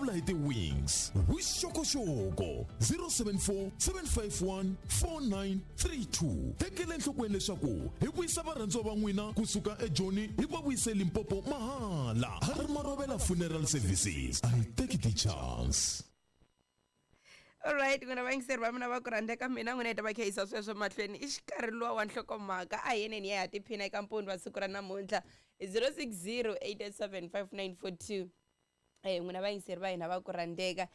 vulavula hi ti-wings. Vuxokoxoko 074 751 4932. Tekela enhlokweni leswaku hi vuyisa varhandziwa va n'wina kusuka eJoni hi va vuyise Limpopo mahala. Harry Marovela Funeral Services. A hi teki ti-chance. Alright, n'wina vayingiseri va mina va ku rhandza ka mina, n'wina hi ta va kha yisa sweswo mahlweni. I xikarhi luwa wa nhlokomhaka, a hi yeneni ya ha tiphina eka mpundzu wa siku ra namuntlha. 060 887 5942. N'wina vayingiseri va hina va ku rhandzeka,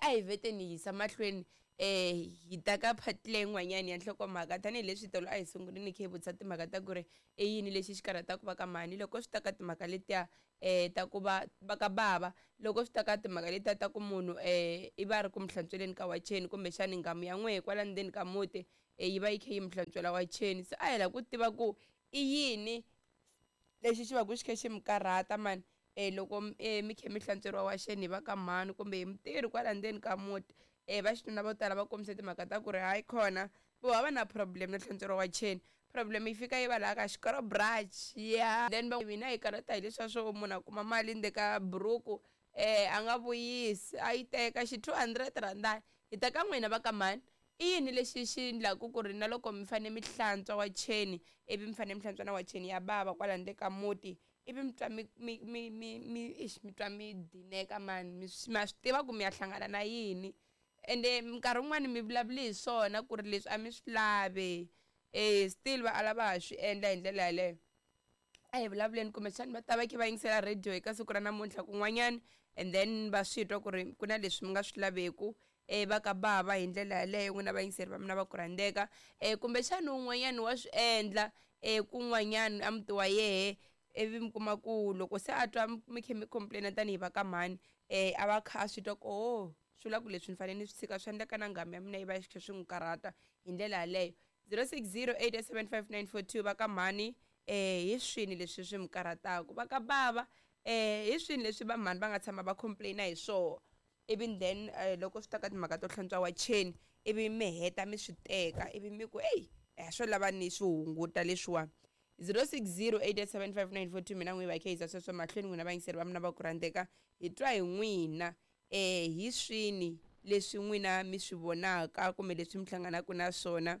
a hi veteni hi yisa mahlweni, hi ta ka part leyin'wanyani ya nhlokomhaka, tanihileswi tolo a hi sungulini kha hi vutisa timhaka ta ku ri i yini lexi xi karhataka va ka mhani loko swi ta ka timhaka letiya ta ku va va ka bava, loko swi ta ka timhaka letiya ta ku munhu i va ri ku mi hlantsweleni ka wacheni, kumbexani nghamu ya n'wehe kwala ndzeni ka muti yi va yi kha yi mi hlantswela wacheni. Se a hi lava ku tiva ku i yini lexi xi va ku xi kha xi mi karhata mani loko mi kha mi hlantsweriwa wacheni hi va ka mhani kumbe hi mutirhi kwala ndzeni ka muti. Va xinuna vo tala va kombise timhaka ta ku ri hayi khona vo hava na problem no hlantsweriwa wacheni, problem yi fika yi va laha ka xikoro brush ya then va mina hi karhata hi leswiya swo munhu a kuma mali ndzeni ka buruku, a nga vuyisi, a yi teka xi 200 rhandani. Hi ta ka n'wina va ka mhani, i yini lexi xi endlaku ku ri na loko mi fane mi hlantswa wacheni, ivi mi fane mi hlantswa na wacheni ya bava kwala ndzeni ka muti, ivi mi twa mi mi mi mi mi ixi mi twa mi dineka mani, mi ma swi tiva ku mi ya hlangana na yini, ende minkarhi wun'wani mi vulavuli hi swona ku ri leswi a mi swi lavi, still va ala va ha swi endla hi ndlela yaleyo. A hi vulavuleni, kumbexani va ta va kha va yingisela radio eka siku ra namuntlha kun'wanyana, and then va swi twa ku ri ku na leswi mi nga swi laveku va ka bava hi ndlela yaleyo. N'wina vayingiseri va mina va ku rhandzeka, kumbexani un'wanyana wa swi endla kun'wanyana a muti wa yehe, ivi mi kuma ku loko se a twa mi kha mi complain tanihi va ka mhani, a va kha a swi twa ku oh, swi vula ku leswi ni fanele ni swi tshika, swi endleka na nghamu ya mina yi va xi kha swi n'wi karhata hi ndlela yaleyo. 060 887 5942. Va ka mhani, hi swini leswi swi mi karhataka? Va ka bava, hi swini leswi va mhani va nga tshama va complain hi swoho, ivi then loko swi ta ka timhaka to hlantswa wacheni, ivi mi heta mi swi teka, ivi mi ku eyi swo lava ni swi hunguta leswiwa? 060 887 5942. Mina n'wi va kha yisa sweswo mahlweni. N'wina vayingiseri va mina va ku rhandzeka, hi twa hi n'wina, hi swini leswi n'wina mi swi vonaka kumbe leswi mi hlanganaka na swona?